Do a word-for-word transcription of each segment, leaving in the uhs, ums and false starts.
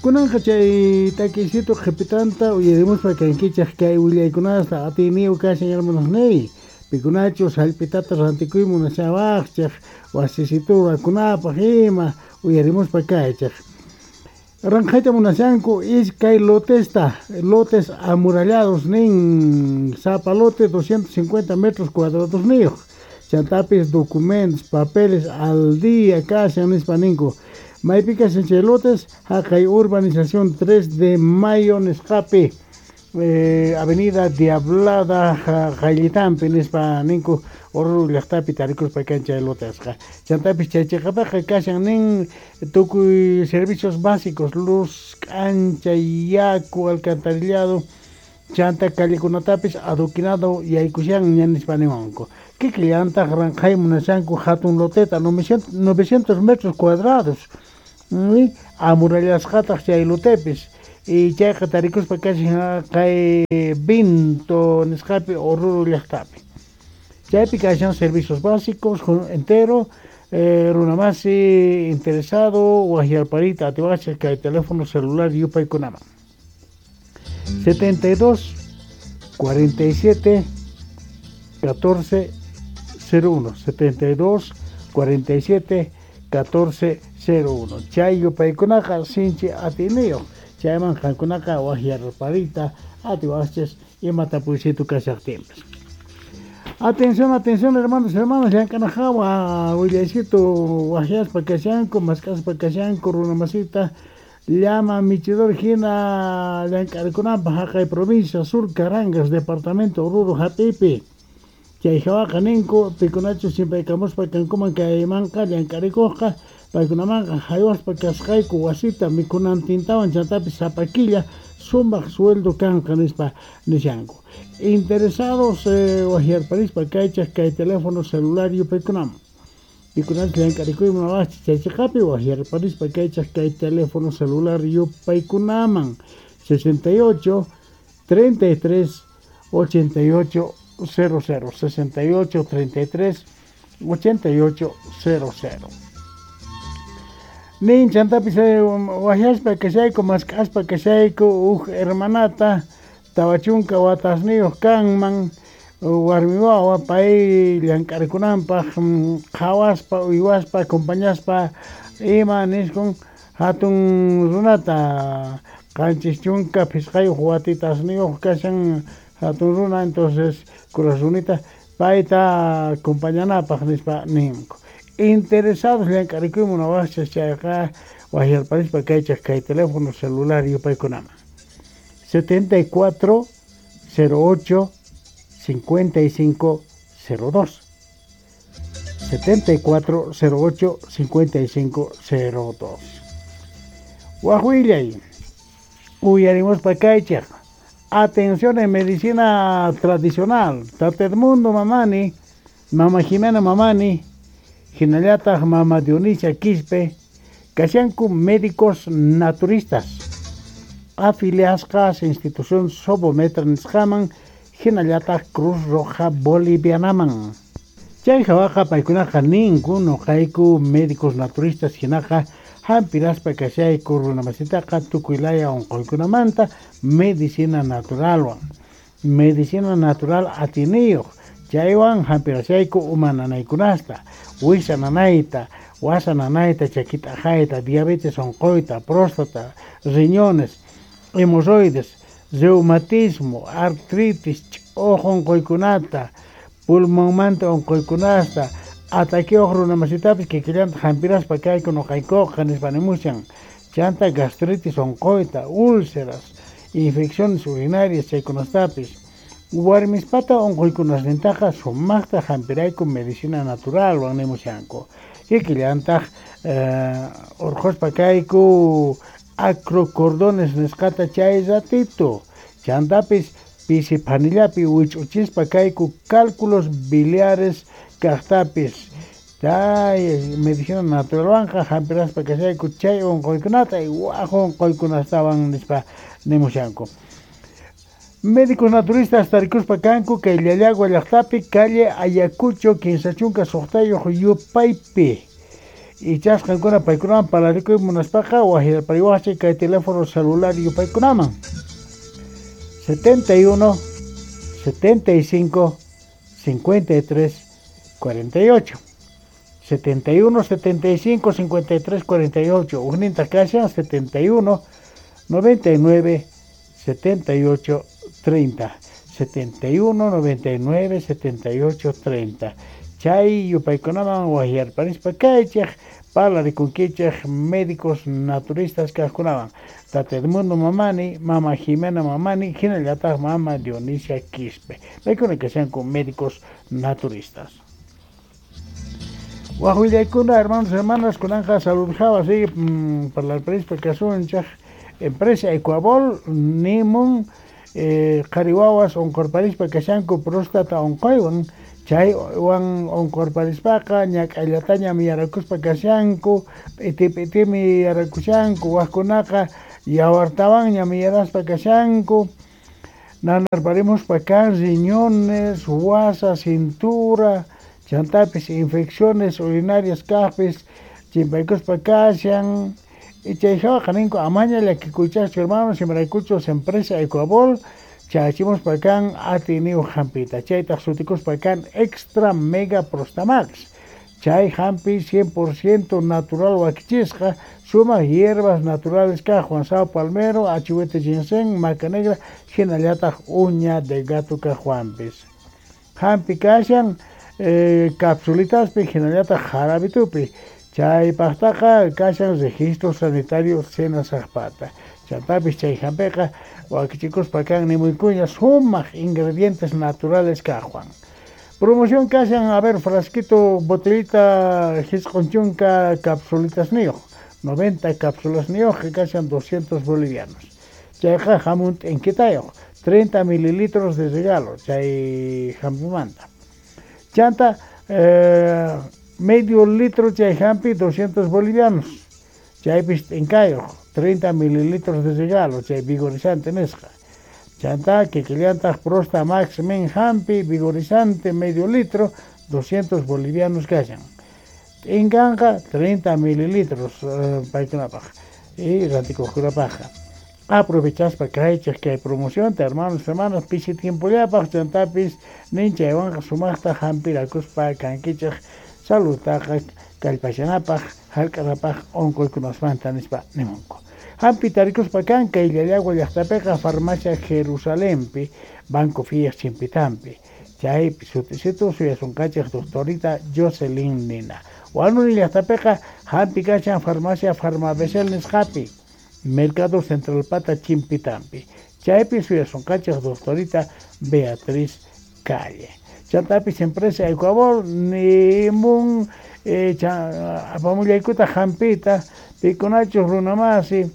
Kunanqa chay takiysitu qhipitanta uyarimuspa kankichej kay willaykunasta atiyniyu kashan, hermanosniy. Pikunachus jallp'itata rantikuy munashawajchej wasisitu rurakunapaj ima, uyarimuspa kaychej. Ranqhayta munashanku iskay lotesta, lotes amurallados nin, sapa lote doscientos cincuenta metros cuadrados niyuq. Chantapis documentos, papeles al día kashan nispa ninku. Maypi kashan chay lotes? Jaqay urbanización tres de Mayo nisqapi, eh, avenida Diablada qayllitanpi nispa ninku. Oruro llaqtapi tarikuspa kan chay lotesqa. Chantapis chay chiqapiqa kashan nin tukuy servicios básicos: luz, k'anchay, yaku, alcantarillado, chanta callekunatapis adoquinado yaykushanña nispa niwanku. Kikillantaq ranqhay munashanku hatun loteta novecientos metros cuadrados, amurallasqataq chay lotepis, y chayqa tarikuspa kashan kay Vinto nisqapi, Oruro llaqtapi. Chaypi kashan servicios básicos entero. eh, runamasi interesado wajyarpariyta atiwachej kay teléfono celular yupaykunaman: setenta y dos cuarenta y siete catorce cero uno, setenta y dos cuarenta y siete catorce cero uno. Chay yupaykunaqa sinchi atiyniyuq. Chayman qankunaqa wajyarpariyta atiwachis ima tapuysitu kashaqtinpis. Atención, atención, hermanos y hermanas, llank'anajawa willaysitu wajyaspa kashanku, mask'aspa kashanku runamasita llama michidor hina llank'arikunanpaq jaqay provincia Sur Carangas, departamento Oruro hap'iypi. Chay hawaqa ninku pikunachus chimpaykamuspa kankuman kaymanqa llank'arikuqqa, paykunamanqa haywaspa kasqayku wasita mikhunantintawan, chantapis sapa killa sumaq sueldo kanqa nispa nishanku. Interesados eh, wajyarparispa kaychaj kay teléfono celular yupaykunaman. Pikunachus llank'arikuy munawaqchis chay chiqapi, wajyarparispa kaychaj kay teléfono celular yupaykunaman: sesenta y ocho treinta y tres ochenta y ocho cero cero, sesenta y ocho treinta y tres ochenta y ocho cero cero. Nin chantapis wajyaspa kashayku, mask'aspa kashayku uj hermanata tawa chunka watasniyuq kanman, warmi wawa, pay llank'arikunanpaq qhawaspa, uywaspa, acompañaspa ima niskun hatun runata, qanchis chunka phisqayuq watitasniyuq kashan hatun runa, entonces kuraq runita payta acompañanapaq nispa ninku. Interesados llank'arikuy munawaqchis chayqa wajyarparispa kaychaj kay teléfono celular yupaykunaman: setenta y cuatro cero ocho cincuenta y cinco cero dos, setenta y cuatro cero ocho cincuenta y cinco cero dos. Waj willay uyarimuspa kaychaj. Atención en medicina tradicional: Tata Edmundo Mamani, Mama Jimena Mamani hinallataq Mama Dionisia Quispe kashanku médicos naturistas afiliasqas institución Sobometra nisqaman hinallataq Cruz Roja Bolivianaman. Chay hawaqa paykunaqa ninku: "Nuqayku médicos naturistas hinaqa hampiraspa kashayku runamasitaqa tukuy laya unquykunamanta medicina naturalwan, medicina natural atiyniyuq. Chaywan hampirashayku uma nanaykunasta, wisa nanayta, wasa nanayta, chaki t'aqayta, diabetes unquyta, próstata, riñones, hemorroides, reumatismo, artritis, ch'uq unquykunata, pulmonmanta unquykunasta, ataqueyuq runamasitapis kikillanta hampiraspa kayku nuqaykuqa", nispa nimushan. Chanta gastritis unquyta, úlceras, infecciones urinarias chaykunastapis. Warmispata unquykunasnintaqa sumaqta hampirayku medicina naturalwan nimushanku. Kikillantaq eh, urqhuspa kayku acrocordones nisqata chay ratito. Chantapis pisi phanillapi wich'uchispa kayku cálculos biliares kaqtapis. Chay medicina naturalwanqa hampiraspa kashayku chay unquykunata waj unquykunastawan nispa nimushanku. Médicos naturistas tarikuspa kanku kay Llallagua llaqtapi, calle Ayacucho kinsa chunka suqtayuq yupaypi. Ichas qankuna paykunaman parlarikuy munaspaqa wajyarpariwaqchik kay teléfono celular yupaykunaman setenta y uno, setenta y cinco, cincuenta y tres, cuarenta y ocho. setenta y uno, setenta y cinco, cincuenta y tres, cuarenta y ocho. Ujninta kashan setenta y uno, noventa y nueve, setenta y ocho, treinta. setenta y uno, noventa y nueve, setenta y ocho, treinta. Chay yupaykunaman wajyarparispa kaychej parlarikunkichej médicos naturistas kajkunawan. Tata Edmundo Mamani, Mama Jimena Mamani, hinallataq Mama Dionisia Quispe. Paykuna kashanku médicos naturistas. Wajullaykuna, hermanos, hermanas, kunanja salud jawa, sí, mmm, parlarparispa kasunchej empresa Ecuabol, nimun, eh, qhari wawas onqorparispa kashanku próstata onqoywan. Chay wan onqorparispaqa ñak'ayllatañam yarakuspa kashanku, p'iti p'itimi yarakushanku, wajkunaqa yawartawanñam yaraspa kashanku, nanarparimuspa kan riñones, wasa, cintura, chantapis infecciones urinarias kaqpis chimpaykuspa kashan. Y chay jawaqa ninku amaña llakikuychaqchu hermanos, imaraykuchus empresa Ecuabol chachimuspa kan atiniyuq hampita, chaytaq sutikuspa kan Extra Mega Prostamax. Chay hampi cien por ciento natural wakichisqa, sumaq hierbas naturales kaqwan, sao palmero, achihuete ginseng, maca negra, hinallataq uña de gato kaqwanpis. Hampi kashan eh, capsulitaspi, hinallataq jarabitupi. Chaypaqtaqa kashan registro sanitario Senasaqpata. Chantapis chay hampiqa wakichikuspa kan nimuykuña sumaq ingredientes naturales kaqwan. Promoción kashan, a ver, frasquito, botellita, jisq'un chunka capsulitas niyuq, noventa cápsulas niyuq, kashan doscientos bolivianos. Chayqa hamun t'inkitayuq, treinta mililitros de regalo, chay hampimanta. Chanta, eh, medio litro chay hampi, doscientos bolivianos. Chaypis t'inkayuq, treinta mililitros de regalo, chay vigorizante nisqa. Chanta, kikillantaq Prosta Max Men hampi, vigorizante, medio litro, doscientos bolivianos kashan. T'inkanqa treinta mililitros eh, paykunapaq y rantikuqkunapaqqa. Aprovechaspa kaychej kay promocionta, hermanos, hermanas, pisi tiempollapaq, chantapis nin chaywanqa sumaqta hampirakuspa kankichej saludtaqa kallpashanapaq, hark'anapaq onqoykunasmanta nispa nimunku. Hampi tarikuspa kan kay Llallagua llaqtapiqa farmacia Jerusalempi, Banco Fías chimpitampi. Chaypi sutisitu suyasunqachej doctorita Jocelyn Nina. Huanuni llaqtapiqa hampi kashan farmacia Farmabesel nisqapi, Mercado Central Pata chimpitampi. Chaypi suyasunqachej doctorita Beatriz Calle. Chantapis empresa Ecuabol nimun eh, apamullaykuta hampita, pikunachus runamasi,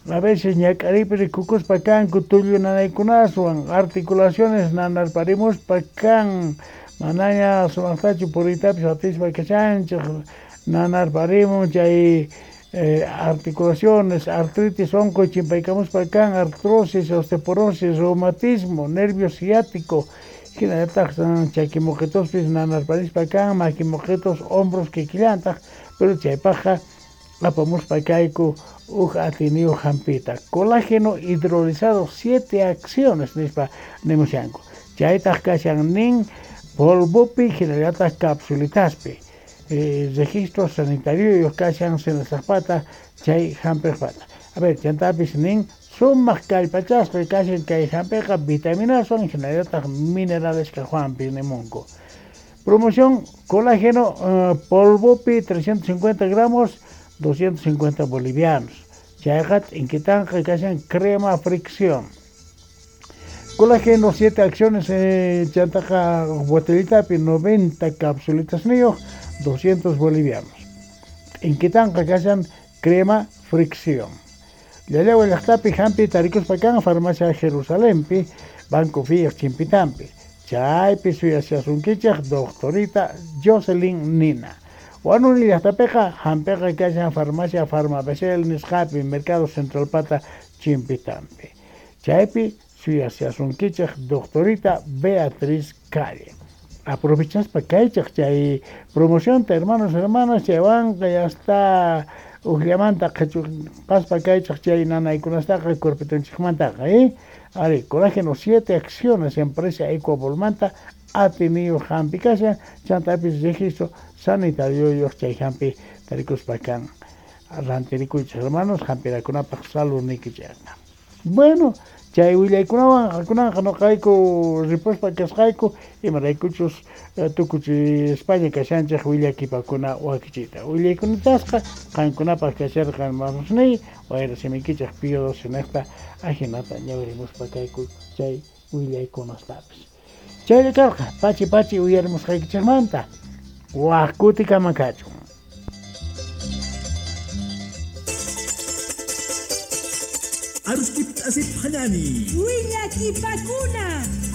a veces ñak'aripi rikukuspa kanku tullu nanaykunaswan, articulaciones nanarparimuspa kan, manaña sumaqtachu puriytapis atispa kashanchej, nanarparimun chay eh, articulaciones, artritis onqoy chimpaykamuspa kan, artrosis, osteoporosis, reumatismo, nervio ciático, hinallataq chakimoqetospis nanarparispa kan, makimoqetos, hombros kikillantaq, pero chaypaqqa apamuspa kayku uj atiniyuq hampita. Colágeno hidrolizado, siete acciones nispa nimushanku. Chaytaq kashan nin polvopi hinallataq capsulitaspi. Eh, registro sanitario kashan Senasaqpata chay hampiqpata. A ver, chantapis nin sumaq kallpachasqa kashan kay hampiqa vitaminaswan hinallataq minerales kaqwanpis nimunku. Promoción colágeno uh, polvopi trescientos cincuenta gramos, doscientos cincuenta bolivianos. Chayqa t'inkitanqa kashan crema fricción. Colágeno siete acciones, eh, chantaqa botellitapi noventa capsulitas niyuq, doscientos bolivianos. T'inkitanqa kashan crema fricción. Llallagua llaqtapi hampi tarikuspa kan farmacia Jerusalempi, Banco Fías chimpitampi. Chaypi suyashasunkichej doctorita Jocelyn Nina. Huanuni llaqtapiqa hampiqa kashan farmacia Farmabesel nisqapi, Mercado Central Pata chimpitampi. Chaypi suyashasunkichej doctorita Beatriz Calle. Aprovechaspa kaychaq chay promocionta, hermanos, hermanas, chaywanqa ya está ujllamanta qhichupaspa kaychaq chay nanaykunastaqa cuerpitonchikmantaqa, eh? Ari, colágeno siete acciones, empresa Ecuavolmanta atiniyuq hampi kashan, chantapis registro sanitario chay hampi tarikuspa kan rantirikuychik, hermanos, hampirakunapaq saludniykichikqa. Bueno, chay willaykunawan kunanqa noqayku ripuspa kasqayku, imaraykuchus tukuchispaña kashanchik willakipakuna wakichiyta. Willaykunatasqa qankunapaq kasharqa, hermanosniy, wayra simikichik Pío doce niqta ajinata ñawirimuspa kayku chay willaykunastapis. Chaylla karqa pachi pachi uyarimusqaykichikmanta. Waj kutikama kachun. Aruskip asip hanani. Willakipakuna.